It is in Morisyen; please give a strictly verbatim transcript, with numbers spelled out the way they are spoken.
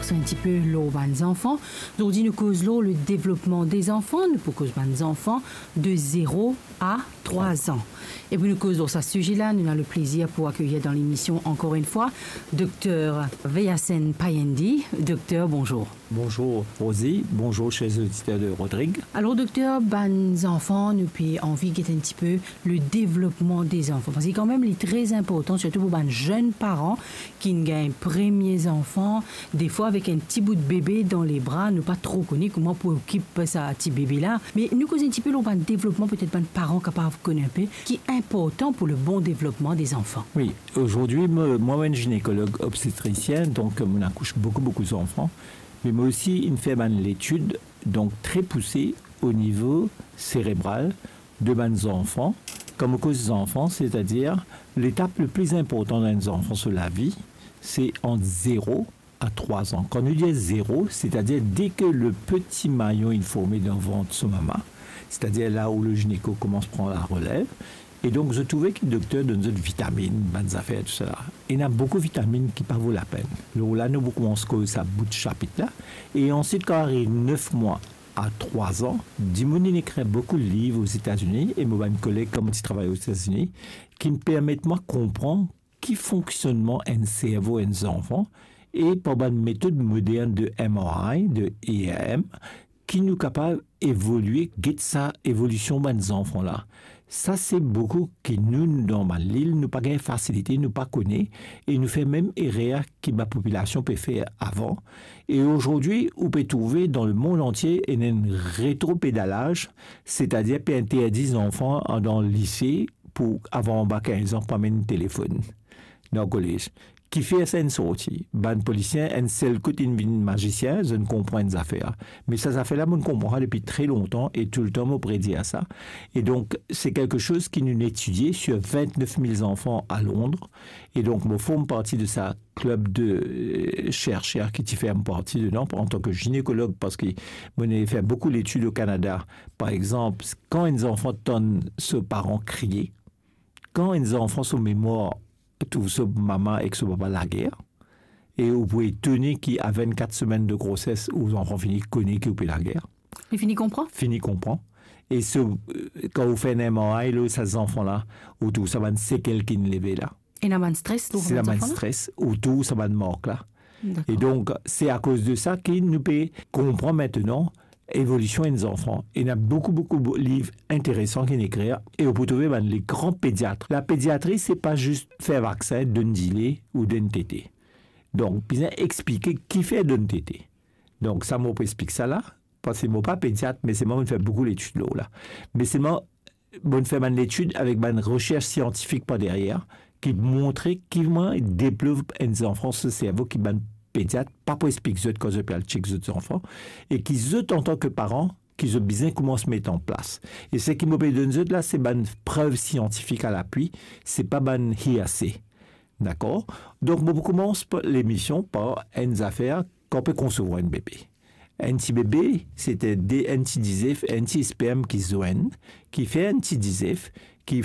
Enn tipe lor bann zanfan. Zordi nou koz lor le devlopman de zanfan, nou pou koz bann zanfan de zero a trwa an. E pou nou koz lor sa size la, nou ena le plezir pou akeyir dan lemision ankor enn fwa Dokter Veyasen Payendi. Dokter, bonzour. Bonzour Rosie, bonzour chers auditeurs de Rodrigue. Alor dokter, bann zanfan, nou pe anvi get enn tipe le devlopman de zanfan. Parski kanmem li tre inportan, sirtou pou bann zenn paran ki gagn premie zanfan. Defwa avek enn ti bout bebe dan lebra, nou pa tro kone kouma pou okip sa ti bebe la. Me nou koz enn tipe lor bann devlopman, petet bann paran kapav kone enpe, ki inportan pou le bon devlopman de zanfan. Wi, zordi, mo, mwa, mo enn ginekolog obstetrisien, donk mo akous boukou, boukou zanfan. Me mo osi inn fer bann letid, donk tre pouse o nivo serebral de bann zanfan. Kan mo koz zanfan, setadir letap le pli inportan dan enn zanfan so lavi, se ant zero a trwa an. Kan nou dir zero, setadir dès que le petit maillon est formé dans le ventre so mama, setadir la où le gynéco commence prendre la relève, e donk zot trouve ki dokter donn zot vitaminn, bann zafer, tousala. Ena boukou vitaminn ki pa vo lapenn. Lor la, nou pou koumans koz sa bout sapit la. E answit, kan ariv nef mwa a trwa an, dimoun inn ekrir boukou liv Ozetazini, e mo bann koleg, kan mo ti travay Ozetazini, ki permet mwa konpran ki fonksionnman enn servo enn zanfan, e par bann metod modern de M R I, de E R M, ki nou kapav evolie, get sa evolision bann zanfan la. Sa se boukou ki nou, nou dan bann lil, nou pa gagn fasilite, nou pa kone, e nou fer mem erer ki bann popilasion pe fer avan. E zordi, ou pe trouve dan lemond antie ena enn retropedalaz, setadir pe interdi zanfan dan lise pou avan anba kinz an pa amenn telefonn dan kolez. Kifer sa inn sorti? Bann polisie enn sel kout inn vinn mazisien, zot inn konpran enn zafer. Me sa zafer la, mo'nn konpran sa depi tre lontan e toultan mo predir sa. E donk, se kelke soz ki nou'nn etidie sir vintnef mil zanfan a Londres. E donk, mo form parti de sa klib de, euh, serser ki ti fer parti dedan, antan ki ginekolog, parski mo'nn fer boukou letid o Kanada. Par exanp, kan enn zanfan tann so paran kriye, kan enn zanfan so memwar trouv so mama ek so papa lager, e ou pou etone ki a vintkat semenn de groses, ou zanfan fini kone ki ou pe lager. Li fini konpran? Fini konpran. E so, euh, kan ou fer enn M R I lor sa zanfan la, ou trouv sa bann sekel ki'nn leve la. Ena bann stres lor bann zanfan la? Se la bann stres, ou trouv sa bann mark la. Dakor. E donk, se akoz de sa ki nou pe konpran aster evolision enn zanfan. Ena boukou, boukou bo-, liv interesan ki'nn ekrir, e ou pou trouve bann le gran pediat. La pediatri, se pa zis fer vaksin, donn dile ou donn tete. Donk, bizin explike kifer donn tete. Donk, sa mo pou explik sa la, parski mo pa pediat, me selman mo'nn fer boukou letid lor la. Me selman, mo'nn fer bann letid avek bann resers siantifik par deryer, ki montre ki mwa devlop enn zanfan so servo ki bann pediat pa pou explik zot kan zot pe al chek zot zanfan, e ki zot, antan ki paran, ki zot bizin koumans met an plas. E seki mo pe donn zot la, se bann prev siantifik a lapwi, se pa bann hearsay. Dakor? Donk, mo pou koumans pa, lemision par enn zafer, kan ou pe konsevwar enn bebe. Enn ti bebe, se de, enn ti dizef, enn ti sperm ki zwenn, ki fer enn ti dizef, ki